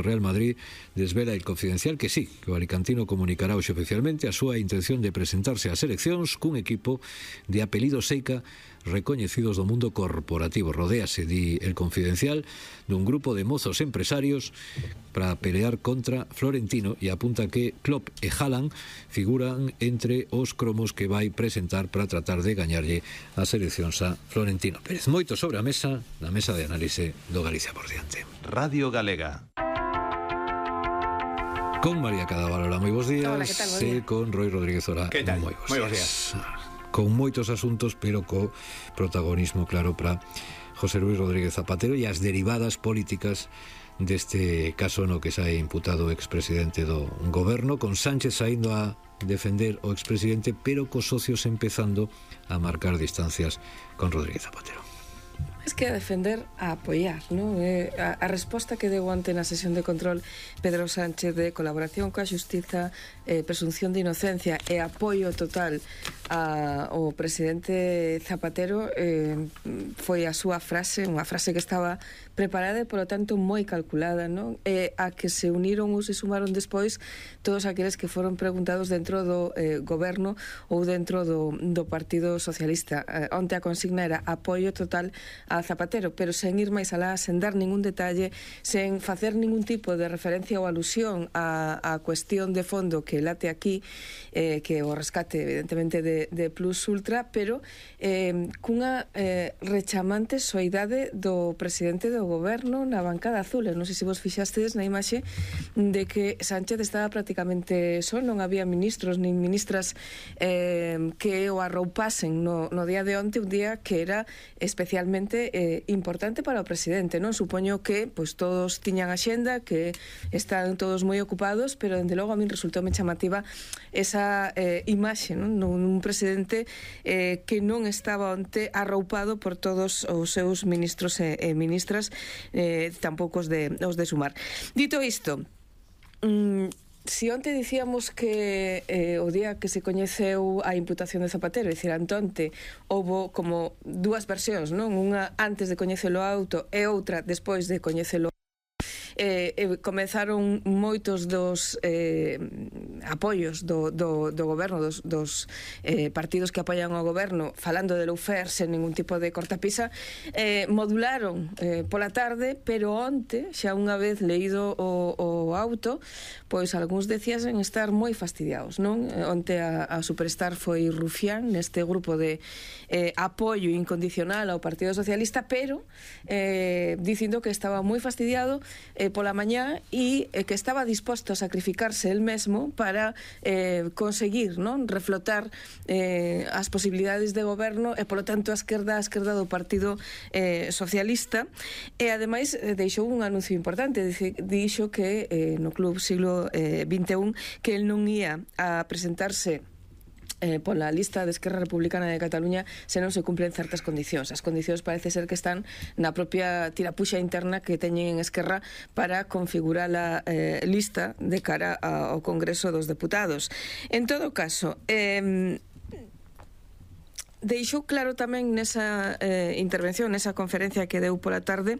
do Real Madrid desvela El Confidencial que sí, que o alicantino comunicará hoxe oficialmente a súa intención de presentarse ás eleccións cun equipo de apelido Seica recoñecidos do mundo corporativo. Rodéase, di El Confidencial, dun grupo de mozos empresarios para pelear contra Florentino e apunta que Klopp e Haaland figuran entre os cromos que vai presentar para tratar de gañarlle as eleccións a Florentino Pérez. Moito sobre a mesa, na mesa de análise do Galicia por diante. Radio Galega. Con María Cadaval, moi bons días. Hola, que tal? Buen día. E con Roy Rodríguez Ora. Que tal? Moi Moi bons días. Con moitos asuntos, pero co protagonismo claro para José Luis Rodríguez Zapatero e as derivadas políticas deste caso no que sae imputado o expresidente do goberno, con Sánchez saindo a defender o expresidente, pero cos socios empezando a marcar distancias con Rodríguez Zapatero. Es que a defender, a apoiar, ¿no? A resposta que deu onte na sesión de control Pedro Sánchez de colaboración coa xustiza, presunción de inocencia e apoio total ao presidente Zapatero, foi a súa frase, unha frase que estaba preparada e, polo tanto, moi calculada, ¿no? A que se uniron ou se sumaron despois todos aqueles que foron preguntados dentro do goberno ou dentro do Partido Socialista. Onte a consigna era apoio total a Zapatero, pero sen ir máis alá, sen dar ningún detalle, sen facer ningún tipo de referencia ou alusión á cuestión de fondo que late aquí, que o rescate evidentemente de Plus Ultra, pero cunha rechamante soidade do presidente do goberno na bancada azul. Non sei se vos fixastes na imaxe de que Sánchez estaba prácticamente só, non había ministros nin ministras que o arroupasen no día de onte, un día que era especialmente importante para o presidente, non? Supoño que pois todos tiñan axenda, que están todos moi ocupados, pero dende logo a min resultoume chamativa esa imaxe, non? Un presidente que non estaba onte arroupado por todos os seus ministros e ministras, tampouco os de Sumar. Dito isto, si onte dicíamos que o día que se coñeceu a imputación de Zapatero, é dicir, onte houbo como dúas versións, non? Unha antes de coñecelo auto e outra despois de coñecelo. Comezaron moitos dos apoios do goberno, dos partidos que apoian o goberno, falando de lawfare sen ningún tipo de cortapisa. Modularon pola tarde, pero onte, xa unha vez leído o auto, pois algúns decíasen estar moi fastidiados, non? Onte a superstar foi rufián neste grupo de apoio incondicional ao Partido Socialista, pero dicindo que estaba moi fastidiado pola mañá e que estaba disposto a sacrificarse el mesmo para conseguir, non? Reflotar as posibilidades de goberno e, polo tanto, a esquerda do Partido Socialista. E, ademais, deixou un anuncio importante. Dixo que no Club Siglo XXI que el non ia a presentarse pola lista de Esquerra Republicana de Cataluña se non se cumplen certas condicións. As condicións parece ser que están na propia tirapuxa interna que teñen en Esquerra para configurar a lista de cara ao Congreso dos Deputados. En todo caso, deixou claro tamén nesa intervención, nesa conferencia que deu pola tarde,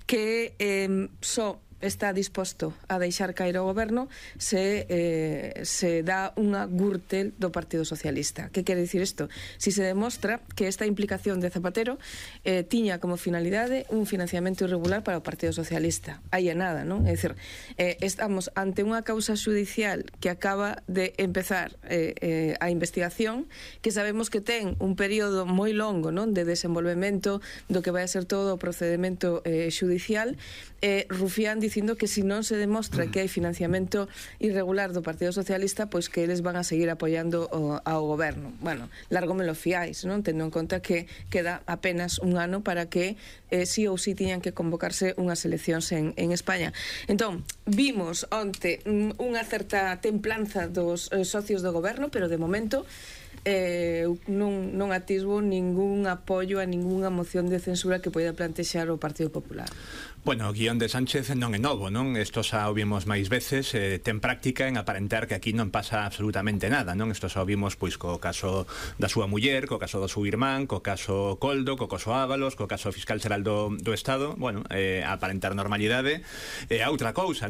que só está disposto a deixar caer o goberno se dá unha gürtel do Partido Socialista. Que quere dicir isto? Si se demostra que esta implicación de Zapatero tiña como finalidade un financiamento irregular para o Partido Socialista. Aí é nada, non? É dicir, estamos ante unha causa judicial que acaba de empezar a investigación, que sabemos que ten un período moi longo, non? De desenvolvemento do que vai a ser todo o procedimento judicial. Rufián dicindo que se non se demostra que hai financiamento irregular do Partido Socialista, pois que eles van a seguir apoiando ao goberno. Bueno, largo me lo fiáis, non? Tendo en conta que queda apenas un ano para que sí ou sí tiñan que convocarse unhas eleccións en España. Entón, vimos onte unha certa templanza dos socios do goberno, pero de momento non atisbo ningún apoio a ningunha moción de censura que poida plantexar o Partido Popular. Bueno, o guión de Sánchez non é novo, non? Isto xa o vimos máis veces, ten práctica en aparentar que aquí non pasa absolutamente nada, non? Isto xa o vimos pois co caso da súa muller, co caso do seu irmán, co caso Coldo, co caso Ábalos, co caso fiscal xeral do Estado. Bueno, aparentar normalidade é outra cousa, non?